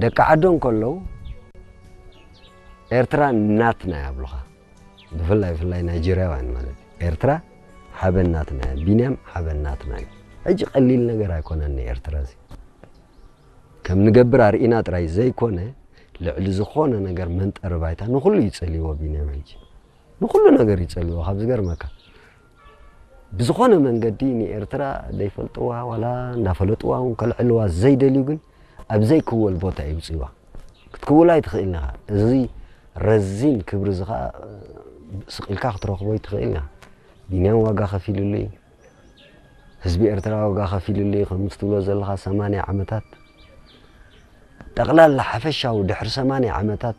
ደቂ ዓዶም ከለዉ ኤርትራ ናትና ይብሉኻ። ብፍላይ ብፍላይ ናይጀርያውያን ማለት እዩ። ኤርትራ ሓበን ናትና እያ፣ ቢንያም ሓበን ናትና እዩ። ሕጂ ቀሊል ነገር ኣይኮነን ንኤርትራ እዚ። ከም ንገብር ኣርኢና ጥራይ ዘይኮነ፣ ልዕሊ ዝኾነ ነገር መንጠሪ ባይታ ንኹሉ እዩ ጸልይዎ ቢንያም ሕጂ። ንኹሉ ነገር እዩ ጸልይዎ፣ ካብ ዝገርመካ። ብዝኾነ መንገዲ ንኤርትራ ዘይፈልጥዋ ዋላ እንዳፈለጥዋ እውን ከልዕልዋ ዘይደልዩ ግን ኣብ ዘይክወል ቦታ ይውፅዋ ክትክውላ ኣይትኽእልን ኢኻ። እዚ ረዚን ክብሪ እዚ ኸዓ ስቕ ኢልካ ክትረኽቦ ኣይትኽእልን ኢኻ። ቢንያም ዋጋ ከፊልሉ እዩ። ህዝቢ ኤርትራ ዋጋ ከፊልሉ እዩ። ከም ትብሎ ዘለኻ ሰማንያ ዓመታት ጠቕላላ ሓፈሻዊ ድሕሪ ሰማንያ ዓመታት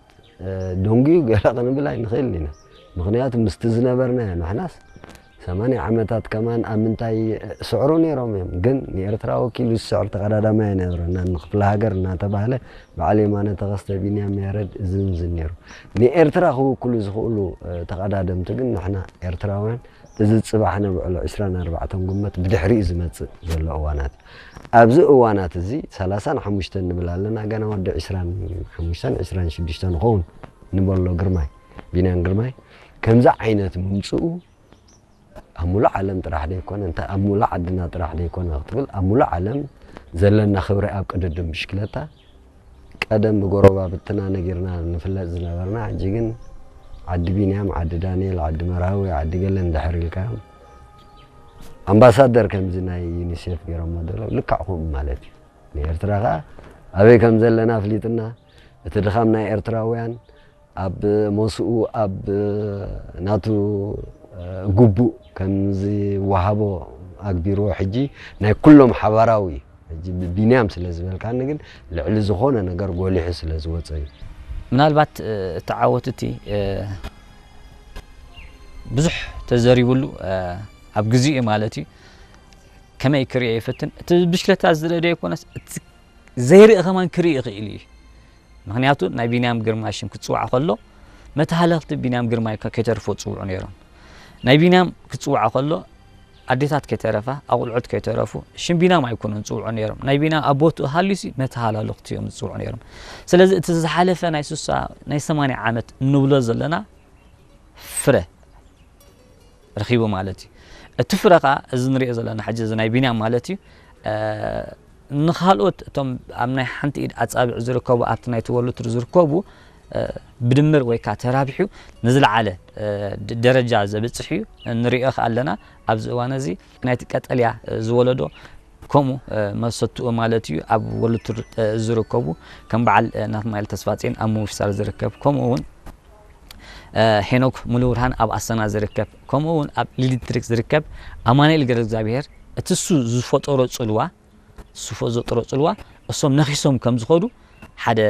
ደንጉዩ ገለ ክንብል ኣይንኽእልን ኢና። ምኽንያቱ ምስቲ ዝነበርናዮ ንሕናስ ሰማንያ ዓመታት ከማን ኣብ ምንታይ ስዕሩ ነይሮም እዮም። ግን ንኤርትራ ወኪሉ ዝስዕር ተቐዳዳማይ ኣይነበረና። ንክፍለ ሃገር እናተባህለ በዓል የማነ ተኸስተ፣ ቢንያም ያረድ፣ እዝን ዝን ነይሩ። ንኤርትራ ክውክሉ ዝኽእሉ ተቐዳደምቲ ግን ንሕና ኤርትራውያን እዚ ጽባሕ ነብዕሎ ዕስራን ኣርባዕተን ግንቦት ብድሕሪኡ ዝመጽእ ዘሎ እዋናት። ኣብዚ እዋናት እዚ ሰላሳን ሓሙሽተን ንብል ኣለና፣ ገና ወዲ ዕስራን ሓሙሽተን ዕስራን ሽዱሽተን ንኸውን ንበሎ ግርማይ፣ ቢንያም ግርማይ። ከምዚ ዓይነት ምምጽኡ ኣብ ሙሉእ ዓለም ጥራሕ ደይኮነ፣ እንታይ ኣብ ሙሉእ ዓድና ጥራሕ ደይኮነ ክትብል፣ ኣብ ሙሉእ ዓለም ዘለና ክብሪ ኣብ ቅድድም ብሽክለታ ቀደም ብጎረባብትና ነጊርና ንፍለጥ ዝነበርና፣ ሕጂ ግን ዓዲ ቢንያም፣ ዓዲ ዳንኤል፣ ዓዲ መርሃዊ፣ ዓዲ ገለ እንድሕር ኢልካዮም፣ ኣምባሳደር ከምዚ ናይ ዩኒሴፍ ገይሮሞ ዘለዉ ልክዕ ከምኡ ማለት እዩ። ንኤርትራ ከኣ ኣበይ ከም ዘለና ኣፍሊጥና፣ እቲ ድኻም ናይ ኤርትራውያን ኣብ ሞስኡ፣ ኣብ ናቱ ግቡእ ከም ዝወሃቦ ኣግቢርዎ። ሕጂ ናይ ኩሎም ሓባራዊ እዩ። ሕጂ ብቢንያም ስለ ዝበልካኒ ግን ልዕሊ ዝኾነ ነገር ጎሊሑ ስለ ዝወጸ እዩ። ምናልባት እቲ ዓወት እቲ ብዙሕ ተዘሪብሉ ኣብ ግዜኡ ማለት እዩ። ከመይ ክርእዮ ይፈትን፣ እቲ ብሽክለታ ዝርኢ ዶ ይኮነስ እቲ ዘይርኢ ከማን ክርኢ ይኽእል እዩ። ምኽንያቱ ናይ ቢንያም ግርማይ ሽም ክጽዋዕ ከሎ መተሃለኽቲ ቢንያም ግርማይ ከይተርፎ ጽውዑ ነይሮም። ናይ ቢንያም ክጽዋዕ ከሎ ኣዴታት ከይተረፋ፣ ኣቑልዑት ከይተረፉ ሽም ቢንያም ኣይኮኑን ዝጽውዑ ነይሮም። ናይ ቢንያም ኣብ ቦትኡ ሃልዩሲ መተሃላለኽቲ እዮም ዝጽውዑ ነይሮም። ስለዚ እቲ ዝሓለፈ ናይ ሱሳ ናይ ሰማንያ ዓመት እንብሎ ዘለና ፍረ ረኺቡ ማለት እዩ። እቲ ፍረ ኸኣ እዚ ንሪኦ ዘለና ሕጂ እዚ ናይ ቢንያም ማለት እዩ። ንኻልኦት እቶም ኣብ ናይ ሓንቲ ኢድ ኣጻብዕ ዝርከቡ ኣብቲ ናይ ትወልድ ዝርከቡ ብድምር ወይ ከዓ ተራቢሑ ንዝለዓለ ደረጃ ዘብፅሕ እዩ። ንሪኦ ከኣ ኣለና ኣብዚ እዋን እዚ ናይቲ ቀጠልያ ዝወለዶ ከምኡ መሰትኡ ማለት እዩ ኣብ ወልድ ዝርከቡ ከም በዓል ናትናኤል ተስፋጼን ኣብ ምውሳር ዝርከብ ከምኡ እውን ሄኖክ ሙሉብርሃን ኣብ ኣሰና ዝርከብ ከምኡ እውን ኣብ ሊሊትሪክ ዝርከብ ኣማኑኤል ገረ እግዚኣብሔር እቲ እሱ ዝፈጠሮ ጽልዋ ዝፈጠሮ ጽልዋ እሶም ነኺሶም ከም ዝኸዱ ሓደ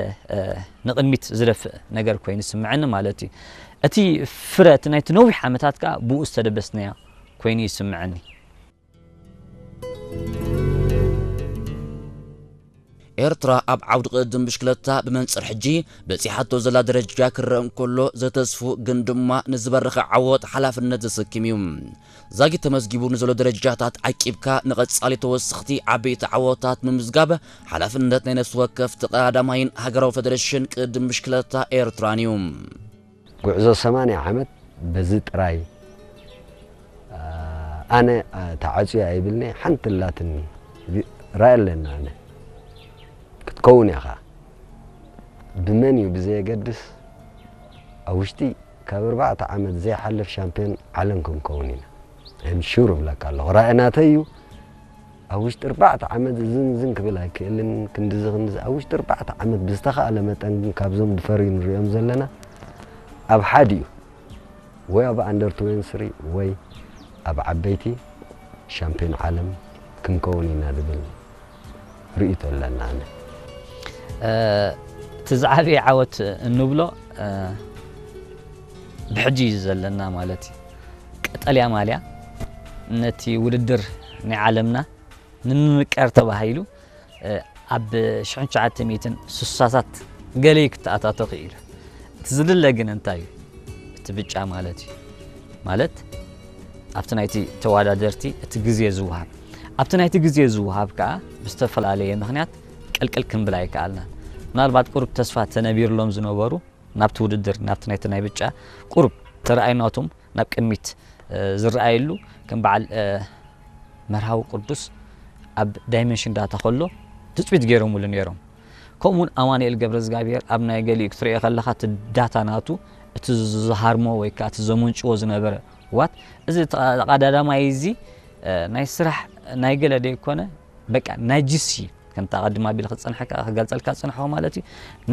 ንቕድሚት ዝደፍእ ነገር ኮይኑ ይስምዐኒ ማለት እዩ። እቲ ፍረ እቲ ናይቲ ነዊሕ ዓመታት ከዓ ብኡ ዝተደበስናዮ ኮይኑ ይስምዐኒ። ኤርትራ ኣብ ዓውዲ ቅድድም ብሽክለታ ብመንጽር ሕጂ በጺሓቶ ዘላ ደረጃ ክረአ እንከሎ ዘተስፉ ግን ድማ ንዝበረኸ ዓወት ሓላፍነት ዘሰክም እዩ። ዛጊት ተመዝጊቡ ንዘሎ ደረጃታት ዓቂብካ ንቐጻሊ ተወሰኽቲ ዓበይቲ ዓወታት ምምዝጋብ ሓላፍነት ናይ ነፍሲ ወከፍ ተቐዳዳማይን ሃገራዊ ፈደረሽን ቅድድም ብሽክለታ ኤርትራን እዩ። ጉዕዞ ሰማንያ ዓመት በዚ ጥራይ ኣነ ተዓፅዮ ኣይብልኒ ሓንቲ ላትኒ ራእይ ኣለና ኣነ ክትከውን ኢኻ ብመን እዩ ብዘየገድስ ኣብ ውሽጢ ካብ ኣርባዕተ ዓመት ዘይሓልፍ ሻምፒዮን ዓለም ክንከውን ኢና ም ሹር እብለካ ኣለኹ ራእይ ናተይ እዩ ኣብ ውሽጢ ኣርባዕተ ዓመት እዝን እዝን ክብል ኣይክእልን ክንድዚ ክንድዚ ኣብ ውሽጢ ኣርባዕተ ዓመት ብዝተኻእለ መጠን ግን ካብዞም ዝፈርዩ ንሪኦም ዘለና ኣብ ሓዲኡ ወይ ኣብ ኣንደር ትዌንቲ ስሪ ወይ ኣብ ዓበይቲ ሻምፒዮን ዓለም ክንከውን ኢና ዝብል ርእይቶ ኣለና ኣነ። እቲ ዝዓበየ ዓወት እንብሎ ብሕጂ እዩ ዘለና ማለት እዩ። ቀጠልያ ማልያ ነቲ ውድድር ናይ ዓለምና ንምምቃር ተባሂሉ ኣብ ሽሕን ትሽዓተ ሚእትን ስሳታት ገለ እዩ ክተኣታቶ ክኢሉ። እቲ ዝድለ ግን እንታይ እዩ? እቲ ብጫ ማለት እዩ። ማለት ኣብቲ ናይቲ ተወዳደርቲ እቲ ግዜ ዝወሃብ ኣብቲ ናይቲ ግዜ ዝወሃብ ከዓ ብዝተፈላለየ ምኽንያት ቅልቅል ክንብል ኣይከኣልናን። ምናልባት ቁሩብ ተስፋ ተነቢርሎም ዝነበሩ ናብቲ ውድድር ናብቲ ናይቲ ናይ ብጫ ቁሩብ ተረኣይናቶም ናብ ቅድሚት ዝረኣየሉ ከም በዓል መርሃዊ ቅዱስ ኣብ ዳይመንሽን ዳታ ከሎ ትፅቢት ገይሮምሉ ነይሮም። ከምኡውን ኣማኑኤል ገብረ እግዚኣብሔር ኣብ ናይ ገሊኡ ክትሪኦ ከለኻ እቲ ዳታ ናቱ እቲ ዝሃርሞ ወይ ከዓ እቲ ዘመንጭዎ ዝነበረ ዋት እዚ ተቐዳዳማይ እዚ ናይ ስራሕ ናይ ገለ ደይኮነ በቃ ናይ ጅሲ ከምታ ቀድማ ቢል ክፀንሐካ ክገልፀልካ ዝፀንሐኹ ማለት እዩ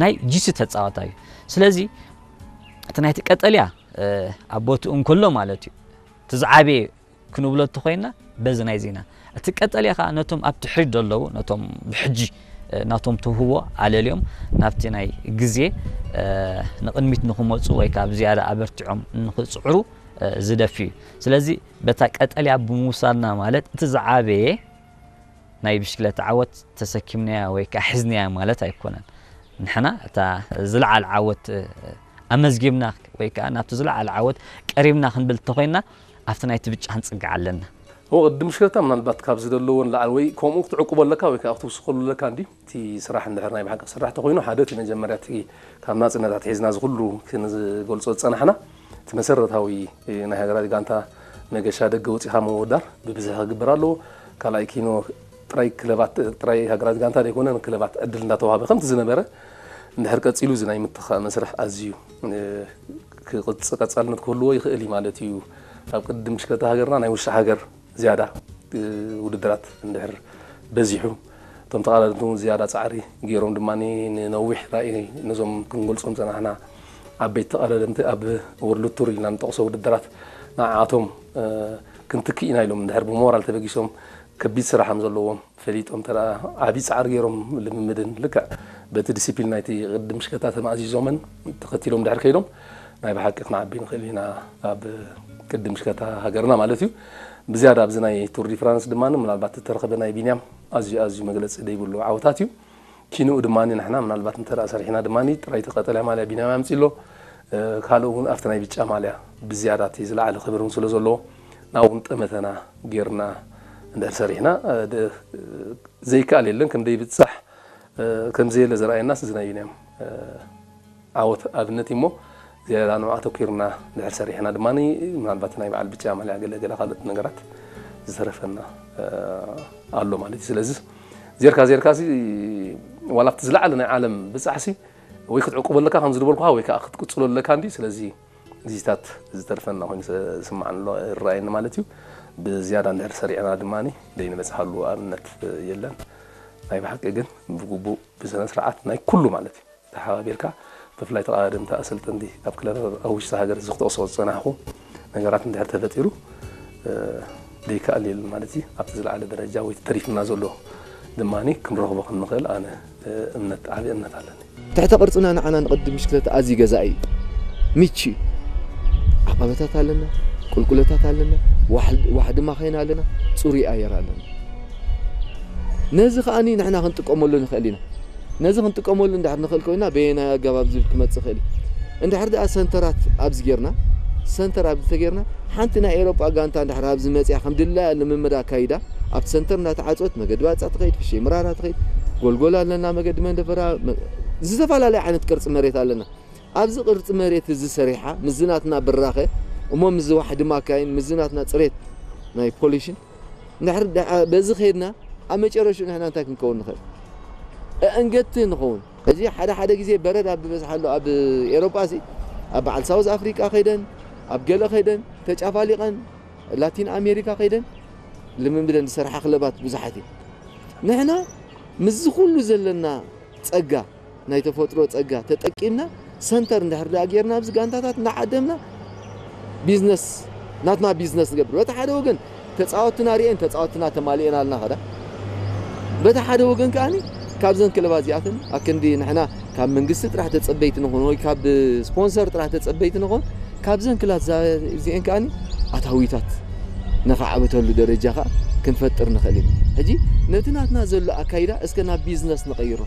ናይ ጅሲ ተፃዋታይ እዩ። ስለዚ እቲ ናይቲ ቀጠልያ ኣብ ቦትኡ እንከሎ ማለት እዩ እቲ ዝዓበየ ክንብሎ እንተኮይና በዚ ናይ ዜና እቲ ቀጠልያ ከዓ ነቶም ኣብ ትሕሪት ዘለዉ ነቶም ብሕጂ ናቶም ትውህቦ ኣለልዮም ናብቲ ናይ ግዜ ንቕድሚት ንክመፁ ወይ ከዓ ብዝያዳ ኣበርቲዖም ንክፅዕሩ ዝደፊ እዩ። ስለዚ በታ ቀጠልያ ብምውሳድና ማለት እቲ ዝዓበየ ናይ ብሽክለታ ዓወት ተሰኪምናያ ወይ ከዓ ሒዝናያ ማለት ኣይኮነን። ንሕና እታ ዝለዓለ ዓወት ኣመዝጊብና ወይ ከዓ ናብቲ ዝለዓለ ዓወት ቀሪብና ክንብል እንተኮይና ኣብቲ ናይቲ ብጫ ክንፅግዕ ኣለና። እዎ ቅድም ሽክለታ ምናልባት ካብ ዝደለዎ ንላዕሊ ወይ ከምኡ ክትዕቁቦ ኣለካ ወይ ከዓ ክትውስኸሉ ኣለካ እንዲ እቲ ስራሕ እንድሕር ናይ ብሓቂ ክስራሕ ተኮይኑ ሓደ እቲ መጀመርያ እቲ ካብ ናፅነት ኣትሒዝና እዚ ኩሉ ክንገልፆ ዝፀናሕና እቲ መሰረታዊ ናይ ሃገራዊ ጋንታ መገሻ ደገ ወፂኻ ምውዳር ብብዝሒ ክግበር ኣለዎ። ካልኣይ ኪኖ ጥራይ ክለባት ጥራይ ሃገራዊ ጋንታ ዘይኮነ ንክለባት ዕድል እንዳተዋሃበ ከምቲ ዝነበረ እንድሕር ቀፂሉ እዚ ናይ ምትኻእ መስርሕ ኣዝዩ ክቕፅ ቀፃልነት ክህልዎ ይኽእል እዩ ማለት እዩ። ኣብ ቅድም ሽከታ ሃገርና ናይ ውሻ ሃገር ዝያዳ ውድድራት እንድሕር በዚሑ እቶም ተቓዳደምቲ እውን ዝያዳ ፃዕሪ ገይሮም ድማ ንነዊሕ ራእይ ነዞም ክንገልፆም ፀናሕና ዓበይቲ ተቓዳደምቲ ኣብ ወርልድ ቱር ኢልና ንጠቕሶ ውድድራት ንዓኣቶም ክንትክእ ኢና ኢሎም እንድሕር ብሞራል ተበጊሶም ከቢድ ስራሕ ከም ዘለዎም ፈሊጦም ተደኣ ዓብዪ ፃዕሪ ገይሮም ልምምድን ልክዕ በቲ ዲሲፕሊን ናይቲ ቅድም ሽከታ ተማእዚዞምን ተኸቲሎም ድሕር ከይዶም ናይ ብሓቂ ክንዓቢ ንኽእል ኢና ኣብ ቅድም ሽከታ ሃገርና ማለት እዩ። ብዝያዳ ኣብዚ ናይ ቱር ዲ ፍራንስ ድማ ምናልባት እተረኸበ ናይ ቢንያም ኣዝዩ ኣዝዩ መግለፂ ዘይብሉ ዓወታት እዩ። ኪንኡ ድማ ንሕና ምናልባት እንተ ሰሪሕና ድማ ጥራይ ተቐጠልያ ማልያ ቢንያም ኣምፂ ኣሎ ካልእ እውን ኣብቲ ናይ ብጫ ማልያ ብዝያዳ እቲ ዝለዓለ ክብር እውን ስለ ዘለዎ ናብኡ እውን ጠመተና ጌርና እንድሕር ሰሪሕና ዘይከኣል የለን ከም ዘይብፃሕ ከም ዘየለ ዘርኣየናስ እዚ ናይ ቢንያም ዓወት ኣብነት እሞ ዝያዳ ንዑ ኣተኪርና ድሕር ሰሪሕና ድማ ምናልባት ናይ በዓል ብጫ ማልያ ገለ ገለ ካልኦት ነገራት ዝተረፈና ኣሎ ማለት እዩ። ስለዚ ዜርካ ዜርካ ሲ ዋላ ኣብቲ ዝለዓለ ናይ ዓለም ብፃሕሲ ወይ ክትዕቁበለካ ከም ዝድበልኩካ ወይ ከዓ ክትቅፅሎ ኣለካ እንዲ ስለዚ ግዜታት ዝተርፈና ኮይኑ ዝስማዓኒ ኣሎ ይረኣየኒ ማለት እዩ። ብዝያዳ እንድሕር ሰሪዕና ድማ ደይንበፅሓሉ ኣብነት የለን። ናይ ብሓቂ ግን ብግቡእ ብስነ ስርዓት ናይ ኩሉ ማለት እዩ ተሓባቢርካ ብፍላይ ተቐዳደምቲ ኣሰልጠንቲ ኣብ ክለብ ኣብ ውሽጢ ሃገር እዚ ክጠቕሶ ዝፀናሕኩ ነገራት እንድሕር ተፈጢሩ ደይከኣል የለን ማለት እዩ። ኣብቲ ዝለዓለ ደረጃ ወይ ተሪፍና ዘሎ ድማ ክንረኽቦ ከም ንኽእል ኣነ እምነት ዓብዪ እምነት ኣለኒ። ትሕተ ቅርጽና ንዓና ንቕድም ብሽክለታ ኣዝዩ ገዛኢ እዩ። ምቹ እዩ። ዓቐበታት ኣለና፣ ቁልቁለታት ኣለና፣ ዋሕዲ ማኸይን ኣለና፣ ጽሩይ ኣየር ኣለና። ነዚ ከኣ ንሕና ክንጥቀመሉ ንኽእል ኢና። ነዚ ክንጥቀመሉ እንድሕር ንኽእል ኮይና በየናይ ኣገባብ ዝብል ክመጽእ ይኽእል እዩ። እንድሕር ደኣ ሰንተራት ኣብዚ ጌርና፣ ሰንተር ኣብዚ ተጌርና፣ ሓንቲ ናይ ኤውሮጳ ጋንታ እንድሕር ኣብዚ መጽያ ከም ድላያ ልምምድ ኣካይዳ፣ ኣብቲ ሰንተር እንዳተዓፀወት መገዲ ባፃ ትኸይድ፣ ፍሸይ ምራራ ትኸይድ፣ ጎልጎል ኣለና፣ መገዲ መንደፈራ፣ ዝተፈላለየ ዓይነት ቅርፂ መሬት ኣለና። ኣብዚ ቅርፂ መሬት እዚ ሰሪሓ ምስዚ ናትና ብራኸ እሞ ምስዚ ዋሕዲ ማካይን ምስዚ ናትና ፅሬት ናይ ፖሊሽን እንድሕር በዚ ከይድና ኣብ መጨረሽኡ ንሕና እንታይ ክንከውን ንኽእል? ኣእንገድቲ ንኸውን። እዚ ሓደ ሓደ ግዜ በረድ ኣብ ዝበዝሓሉ ኣብ ኤሮጳ ሲ ኣብ በዓል ሳውዝ ኣፍሪቃ ከይደን ኣብ ገለ ከይደን ተጫፋሊቐን ላቲን ኣሜሪካ ከይደን ልምምደን ዝሰርሓ ክለባት ብዙሓት እየን። ንሕና ምስዚ ኩሉ ዘለና ጸጋ ናይ ተፈጥሮ ጸጋ ተጠቂምና ሰንተር እንድሕር ደኣ ጌርና ኣብዚ ጋንታታት እናዓደምና ቢዝነስ ናትና ቢዝነስ ንገብር። በቲ ሓደ ወገን ተጻወትና ርኤን ተጻወትና ተማሊኤና ኣልና ኸዳ በቲ ሓደ ወገን ከኣኒ ካብዘን ክለባት እዚኣተን ኣክንዲ ንሕና ካብ መንግስቲ ጥራሕ ተጸበይቲ ንኾን ወይ ካብ ስፖንሰር ጥራሕ ተጸበይቲ ንኾን ካብዘን ክላት እዚአን ከኣኒ ኣታዊታት ነኻዕብተሉ ደረጃ ኸዓ ክንፈጥር ንኽእል ኢና። ሕጂ ነቲ ናትና ዘሎ ኣካይዳ እስከ ናብ ቢዝነስ ንቐይሮ።